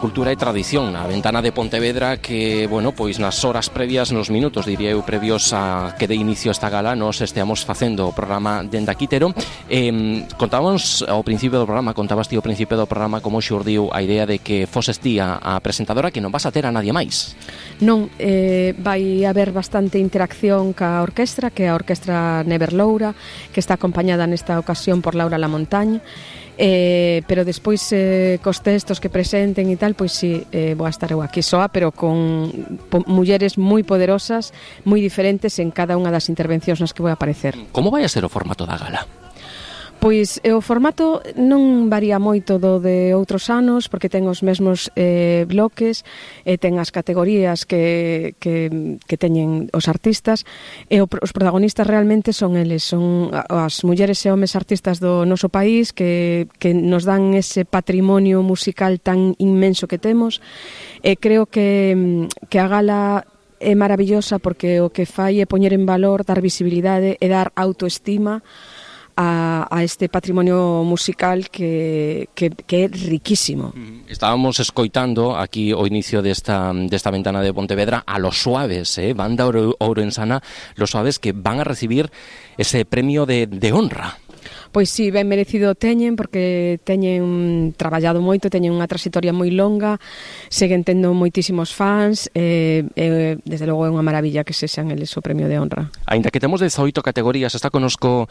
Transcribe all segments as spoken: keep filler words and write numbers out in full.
Cultura e tradición, a ventana de Pontevedra que, bueno, pois nas horas previas, nos minutos, diría eu, previos a que de inicio esta gala, nos esteamos facendo o programa dende aquí, Tero. Eh, contábamos ao principio do programa, contabas ti ao principio do programa como xurdiu a idea de que foses ti a, a presentadora, que non vas a ter a nadie máis. Non, eh, vai haber bastante interacción ca orquestra, que é a Orquestra Never Loura, que está acompañada nesta ocasión por Laura Lamontagne. Eh, pero despois eh, cos textos que presenten e tal, pois si, eh, vou a estar eu aquí soa, pero con po, mulleres moi poderosas, moi diferentes en cada unha das intervencións nas que vou a aparecer. Como vai a ser o formato da gala? Pois o formato non varía moito do de outros anos, porque ten os mesmos eh, bloques, e ten as categorías que, que, que teñen os artistas, e o, os protagonistas realmente son eles, son as mulleres e homes artistas do noso país que, que nos dan ese patrimonio musical tan inmenso que temos, e creo que, que a gala é maravillosa porque o que fai é poñer en valor, dar visibilidade e dar autoestima A, a este patrimonio musical que, que, que é riquísimo. Estábamos escoitando aquí o inicio desta, desta ventana de Pontevedra a Los Suaves, eh? Banda ourensana Los Suaves, que van a recibir ese premio de, de honra. Pois si, ben merecido teñen, porque teñen traballado moito, teñen unha trayectoria moi longa, seguen tendo moitísimos fans, e, e desde logo é unha maravilla que se sean eles o premio de honra. Ainda que temos dezoito categorías, está conosco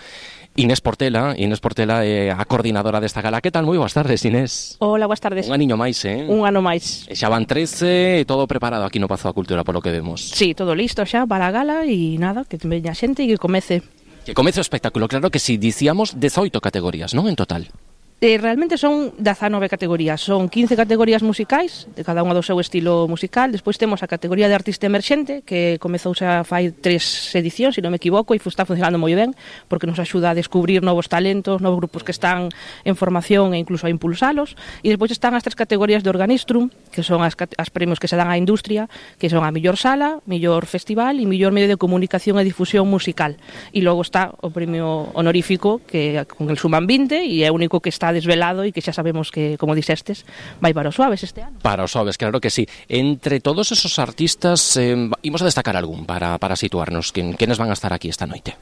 Inés Portela. Inés Portela é a coordinadora desta gala. Que tal? Moi boas tardes, Inés. Hola, boas tardes. Un aniño máis, eh? Un ano máis. E xa van trece, todo preparado aquí no Pazo da Cultura, polo que vemos. Sí, todo listo xa para a gala e nada, que veña xente e que comece. Que comece o espectáculo, claro que si, dicíamos dezoito categorías, non, en total? Eh, realmente son dezanove categorías, son quince categorías musicais, de cada unha do seu estilo musical. Despois temos a categoría de artista emerxente, que comezou xa fai tres edicións, se non me equivoco, e está funcionando moi ben, porque nos axuda a descubrir novos talentos, novos grupos que están en formación e incluso a impulsalos. E despois están as tres categorías de Organistrum, que son as, as premios que se dan á industria, que son a mellor sala, mellor festival e mellor medio de comunicación e difusión musical. E logo está o premio honorífico, que con el suman vinte, e é o único que está desvelado e que xa sabemos que, como dixestes, vai para os Suaves este ano. Para os Suaves, claro que sí. Entre todos esos artistas, eh, imos a destacar algún para, para situarnos. Quen, quenes van a estar aquí esta noite?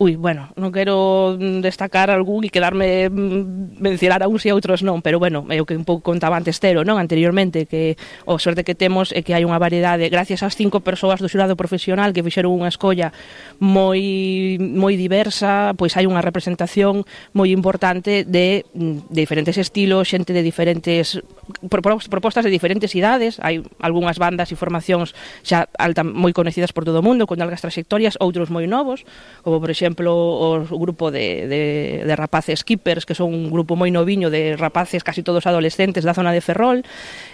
Ui, bueno, non quero destacar algún e quedarme mencionar a uns e a outros non, pero bueno, é o que un pouco contaba antes Tero, non? Anteriormente, que o sorte que temos é que hai unha variedade, gracias ás cinco persoas do xurado profesional que fixeron unha escolla moi moi diversa, pois hai unha representación moi importante de de diferentes estilos, xente de diferentes propostas de diferentes idades. Hai algunhas bandas e formacións xa alta, moi conhecidas por todo o mundo, con algas trayectorias, outros moi novos, como por exemplo o grupo de, de, de rapaces Keepers, que son un grupo moi noviño de rapaces casi todos adolescentes da zona de Ferrol,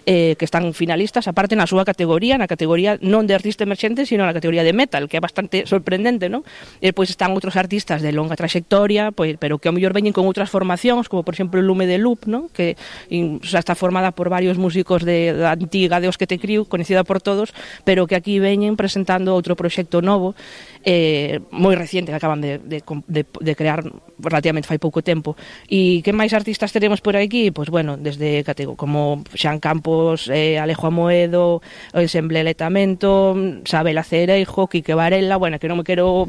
eh, que están finalistas, aparte na súa categoría, na categoría non de artista emerxente, sino na categoría de metal, que é bastante sorprendente, non? E depois están outros artistas de longa trayectoria, pois, pero que ao mellor veñen con outras formacións, como por exemplo Lume de Loop, ¿no? Que xa está formada por varios músicos de, da antiga de Os que te criu, conhecida por todos, pero que aquí veñen presentando outro proxecto novo, eh, moi reciente, que acaban de, de, de, de crear relativamente fai pouco tempo. E que máis artistas teremos por aquí? Pois bueno, desde como Xan Campos, eh, Alejo Amoedo, o Ensemble Letamento, Sabela Cereijo, Quique Varela, bueno, que non me quero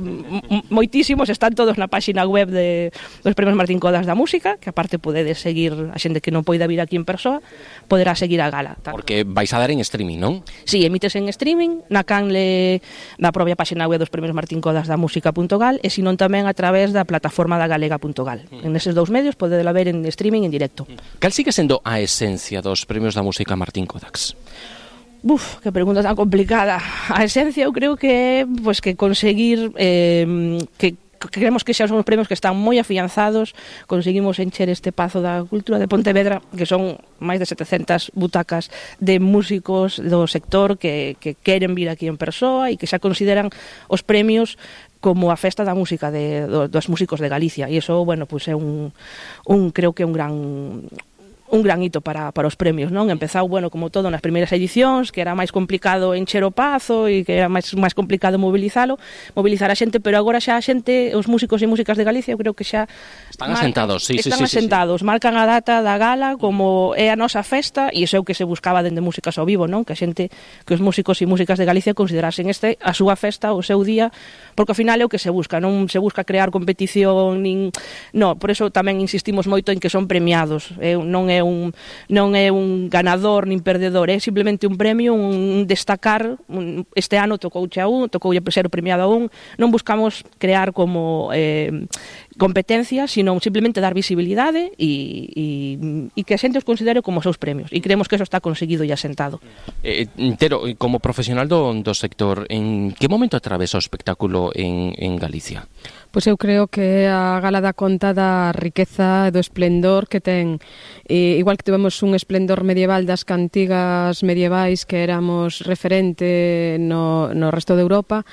moitísimos, están todos na páxina web de, dos Premios Martín Codas da Música, que aparte podedes seguir a xente que non poida vir aquí en persoa, poderá seguir a gala. Porque vais a dar en streaming, non? Sí, emites en streaming, na canle da propia páxina web dos Premios Martín Codas da Música punto gal, e senón tamén a través da plataforma da galega punto gal. Mm. En eses dous medios podedela ver en streaming en directo. Cal sigue sendo a esencia dos Premios da Música Martín Codas? Buf, que pregunta tan complicada. A esencia eu creo que é pues, que conseguir eh, que creemos que xa son os premios que están moi afianzados. Conseguimos encher este Pazo da Cultura de Pontevedra, que son máis de setecentas butacas de músicos do sector que, que queren vir aquí en persoa e que xa consideran os premios como a festa da música de, do, dos músicos de Galicia, e iso, bueno, pues é un, un creo que é un gran un gran hito para, para os premios, non? Empezou, bueno, como todo nas primeiras edicións, que era máis complicado encher o pazo e que era máis máis complicado mobilizalo, mobilizar a xente, pero agora xa a xente, os músicos e músicas de Galicia, eu creo que xa están marcan, asentados, sí, están sí, asentados, sí, sí. marcan a data da gala como é a nosa festa, e iso é o que se buscaba dende Músicas ao Vivo, non? Que a xente, que os músicos e músicas de Galicia considerasen este a súa festa, o seu día, porque ao final é o que se busca, non se busca crear competición, nin... No, por eso tamén insistimos moito en que son premiados, eh, non é un non é un ganador nin perdedor, é simplemente un premio, un destacar. Un, este ano tocouche a un, tocoulle ser premiado a un. Non buscamos crear como eh, competencia, sino simplemente dar visibilidade e, e, e que a xente os considere como os seus premios, e creemos que eso está conseguido e asentado. Eh, Tero, como profesional do, do sector, en que momento atravesa o espectáculo en, en Galicia? Pois eu creo que a gala dá conta da riqueza e do esplendor que ten. E, igual que tivemos un esplendor medieval das cantigas medievais que éramos referente no, no resto de Europa,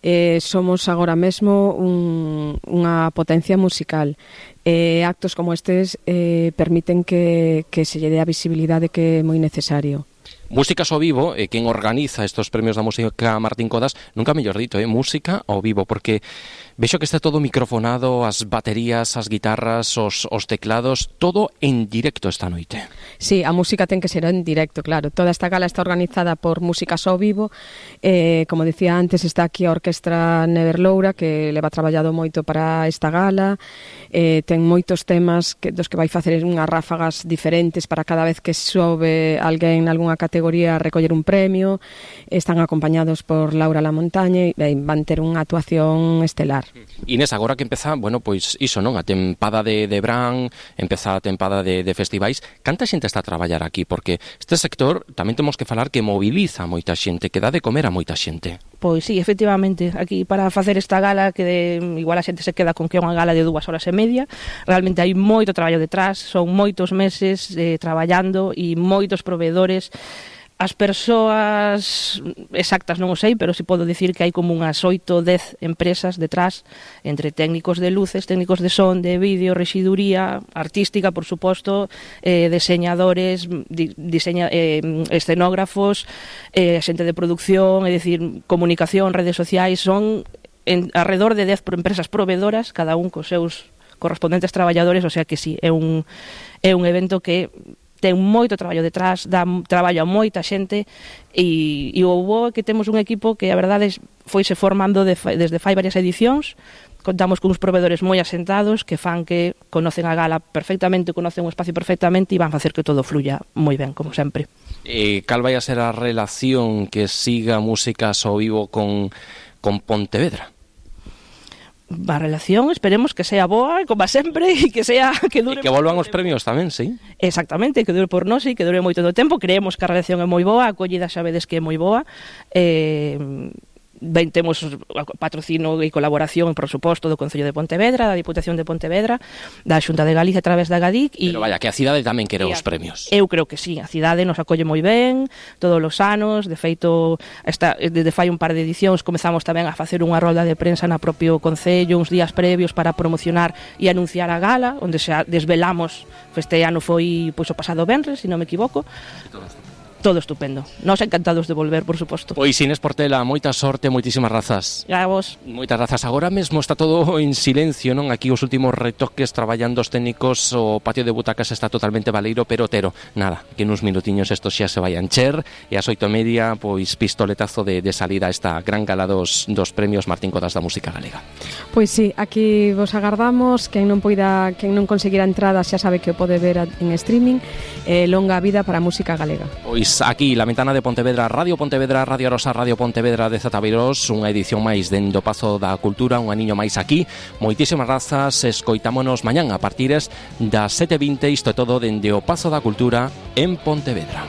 eh, somos agora mesmo un, unha potencia musical. Eh, actos como estes eh, permiten que, que se lle dé a visibilidade que é moi necesario. Músicas ao Vivo, eh, quen organiza estos premios da música Martín Codas, nunca mellor dito, eh, música ao vivo, porque vexo que está todo microfonado, as baterías, as guitarras, os, os teclados, todo en directo esta noite. Sí, a música ten que ser en directo, claro. Toda esta gala está organizada por Músicas ao Vivo. Eh, como decía antes, está aquí a Orquestra Neverloura, que leva traballado moito para esta gala. Eh, ten moitos temas que, dos que vai facer unhas ráfagas diferentes para cada vez que sobe alguén en algunha categoría a recoller un premio. Están acompañados por Laura Lamontañe e van ter unha actuación estelar. Inés, agora que empeza, bueno, pois iso, non? A tempada de, de Bran, empeza a tempada de, de festivais. Canta xente está a traballar aquí? Porque este sector tamén temos que falar que moviliza moita xente, que dá de comer a moita xente. Pois sí, efectivamente, aquí para facer esta gala, que de, igual a xente se queda con que é unha gala de dúas horas e media, realmente hai moito traballo detrás, son moitos meses eh, traballando e moitos proveedores. As persoas exactas non o sei, pero si podo dicir que hai como unhas oito, dez empresas detrás, entre técnicos de luces, técnicos de son, de vídeo, rexiduría, artística, por suposto, eh, diseñadores, di, diseña, eh, escenógrafos, eh, xente de producción, é dicir, comunicación, redes sociais, son en, alrededor de dez empresas proveedoras, cada un cos seus correspondentes traballadores, o sea que sí, é un, é un evento que ten moito traballo detrás, dá traballo a moita xente e, e o bo que temos un equipo que a verdade foise formando de, desde fai varias edicións. Contamos con uns proveedores moi asentados que fan que conocen a gala perfectamente, conocen o espacio perfectamente e van facer que todo fluya moi ben, como sempre. Eh, cal vai a ser a relación que siga Músicas ao Vivo con, con Pontevedra? A relación, esperemos que sea boa, como sempre, e que sea que dure. E que volvan os premios tamén, sí. Exactamente, que dure por nós e que dure moito do tempo. Creemos que a relación é moi boa, a acollida xa vedes que é moi boa. Eh, ben, temos patrocínio e colaboración, por suposto, do Concello de Pontevedra, da Diputación de Pontevedra, da Xunta de Galicia a través da Gadic. Pero vaya, que a cidade tamén quere os premios. Eu creo que sí, a cidade nos acolle moi ben todos os anos. De feito, esta, desde fai un par de edicións comezamos tamén a facer unha rolda de prensa na propio Concello uns días previos para promocionar e anunciar a gala, onde se desvelamos. Este ano foi pois, o pasado venres, se non me equivoco. Todo estupendo. Nos encantados de volver, por suposto. Pois Inés Portela, moita sorte, moitísimas grazas. A vos. Moitas grazas. Agora mesmo está todo en silencio, non? Aquí os últimos retoques traballando os técnicos, o patio de butacas está totalmente baleiro, pero Tero, nada, que nuns minutiños isto xa se vai a encher e ás oito e media, pois pistoletazo de, de salida a esta gran gala dos, dos premios Martín Codas da música galega. Pois sí, aquí vos agardamos. Quen non poida, quen non conseguira entrada xa sabe que o pode ver en streaming. Eh, longa vida para a música galega. Pois aquí, la ventana de Pontevedra, Radio Pontevedra, Radio Arosa, Radio Pontevedra de Zataviros, unha edición máis dende o Pazo da Cultura, un aniño máis aquí. Moitísimas grazas, escoitámonos mañán a partires das sete e vinte, isto é todo dende o Pazo da Cultura en Pontevedra.